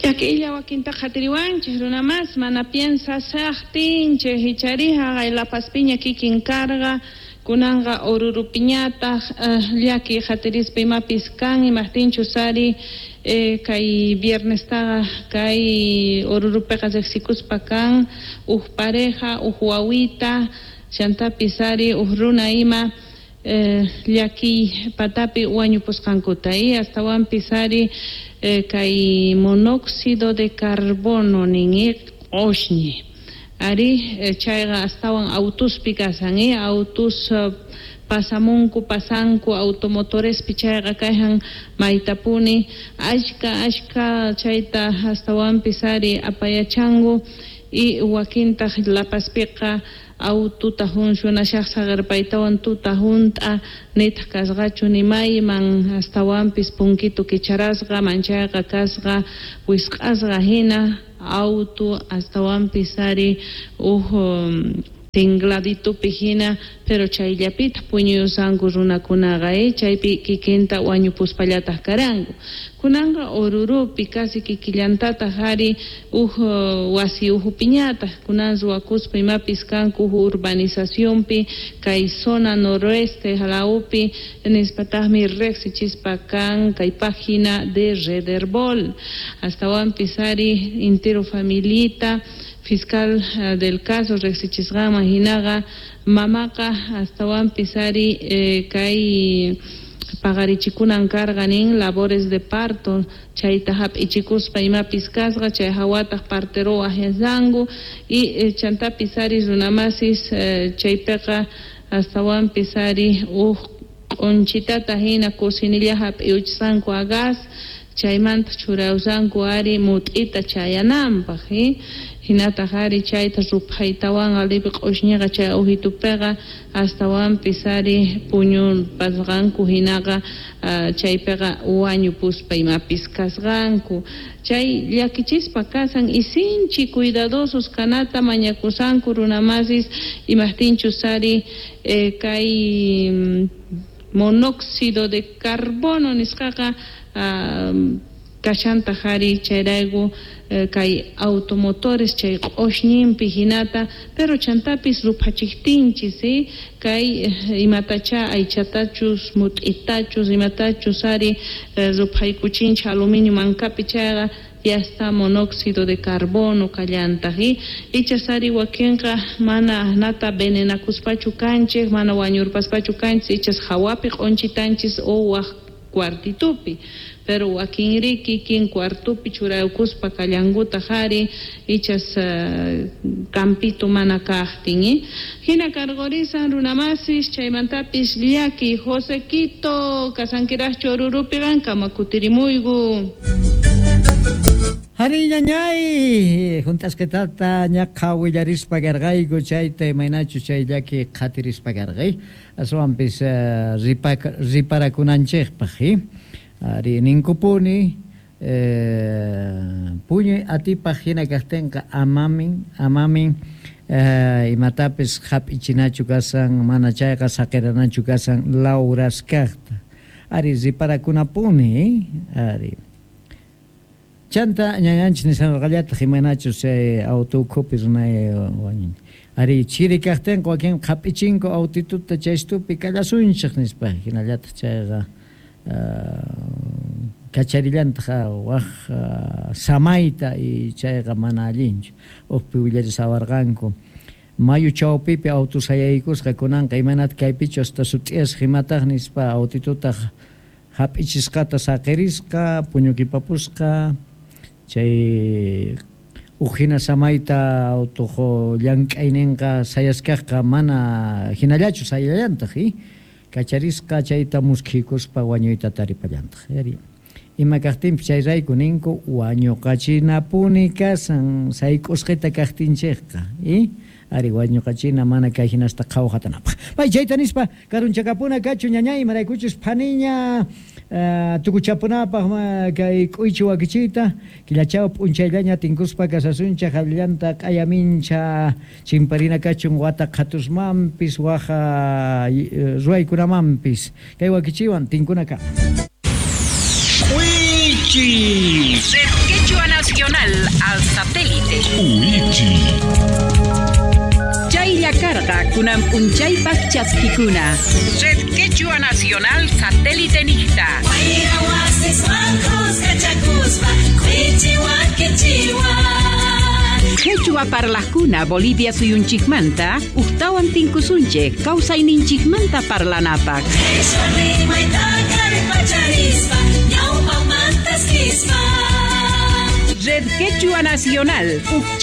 Llakiylla wakinta qhatiriwanchik runa mas mana piensashaqtinchik ichari haqay La Pazpiña kikin karqa kunanqa Orurupiñataq llakiy qhatirispa imapis kan imaqtinchus ari kay viernestaqa kay Orurupiqa riqsikuspa kan huk pareja huk wawita chantapis ari huk runa ima llakiy patapi wañupusqankuta y astawanpis ari kay monóxido de carbono nin q'ushñi ari chayqa astawan autuspi kasan autus pasamunku pasanku automotorespi chayqa kayhan maytapuni ashka ashka chayta astawanpis ari apayachanku y wakintaq La Pazpiqa aututa funcionashaq saqirpaytawan tuta hunt'a nitaq kasqachu nimayman astawanpis punkito kicharasqa manchayqa kasqa wisq'asqa hina auto astawanpis ari huk tingladitupi hina pero chayllapitaq puñuyusanku runakunaqa chaypi kikinta wañupuspallataq karanku kunanqa Orurupi casi kikillantataq ari huk wasi uhupiñataq kunan ruwakuspa imapis kanku huk urbanizacionpi kay zona noroeste halawpi nispataqmi riqsichispa kan kay página de Rederbol astawanpis ari intero familita fiscal del caso riqsichisqanman hinaqa mamaqa astawanpis ari kay paqarichikunan karqa nin labores de parto chayta hap'ichikuspa imapis kasqa chay hawataq partero waqyasanku y chantapis ari runamasis chaypiqa astawanpis ari huk q'unchitata hina cocinilla hap'iuchisqanku a gas chaymanta churayusanku ari mut'ita chayananpaq hinataq ari chayta ruphaytawanqa lipi q'ushñiqa chay uhitupiqa astawanpis ari puñupasqanku hinaqa chaypiqa wañupuspa imapis kasqanku chay llakichispa kasan y sinchi cuidadosos kanata mañakusanku runamasis imaqtinchus ari kay monóxido de carbono nisqaqa kashantaq ari chayrayku kay automotores chay q'ushñinpi hinata pero chantapis ruphachiqtinchis kay imatacha aychatachus mut'itachus imatachus ari ruphaykuchinchik aluminio mankapi chayqa ya está monóxido de carbono kallantaq ichas ari wakinqa mana nata venenakuspachu kanchik mana wañurpaspachu kanchik ichas hawapi q'unchitanchis o waq cuartitupi pero wakinri kikin cuartupi churaykuspa kallankutaq ari ichas campito mana kaqtin hina karqurisan runamasis chaymantapis llaki Josequito kasankiraqchu Orurupi qankama kutirimuyku. Hari ñañay juntasqitata ñaqa willarispa karqayku chayta imaynachu chay llaki qhatirispa karqay aswanpis riparakunanchikpaq ari ninkupuni puñuy atipaq hina kaqtinqa amamin amamin imatapis hap'ichinachu kasan mana chayqa saqiranachu kasan lawraskaqta ari riparakunapuni ari chanta ñañanchis nishanqallataq imaynachus chay auto ukhupi runay wañun ari chiri kaqtinqa wakin hap'ichinku autituta chaystupi kallasunchik nispa hinallataq chayqa kacharillantaq waq samayta y chayqa mana allinchu uqpi willarisawarqanku mayu chawpipi auto sayaykusqa kunanqa imaynata kaypichu hasta sut'iyasqa imataq nispa autitutaq hap'ichisqata saqirisqa puñukipapusqa chay huk hina samayta autuq llank'ayninqa sayaskaqqa mana hinallachu sayallantaq kacharisqa chayta muskhikuspa wañuyta taripallantaq ima kaqtinpis chayrayku ninku wañuqachinapuni kasan sayk'usqita kaqtinchikqa ari wañuqachina mana kay hinasta qhawqatanapaq pay chayta nispa karunchakapuna kachu ñañay imaraykuchus phaniña tukuchapunapaq kay k'uychi wakichiyta killachaw p'unchayllaña tinkuspa kasasunchaq allanta q'ayamincha chimparina kachun wata qhatusmanpis waqa ruwaykunamanpis kay wakichiwan tinkunaka. K'uychi. Quechua. Nacional al satélite. Uichi. Chaylla karqa kunan p'unchaypaq chaskikuna. Red Quechua Nacional Satélite niqta. Quechua parlaqkuna Bolivia suyunchikmanta uqtawan tinkusunchik kawsayninchikmanta parlanapaq. Red Quechua Nacional.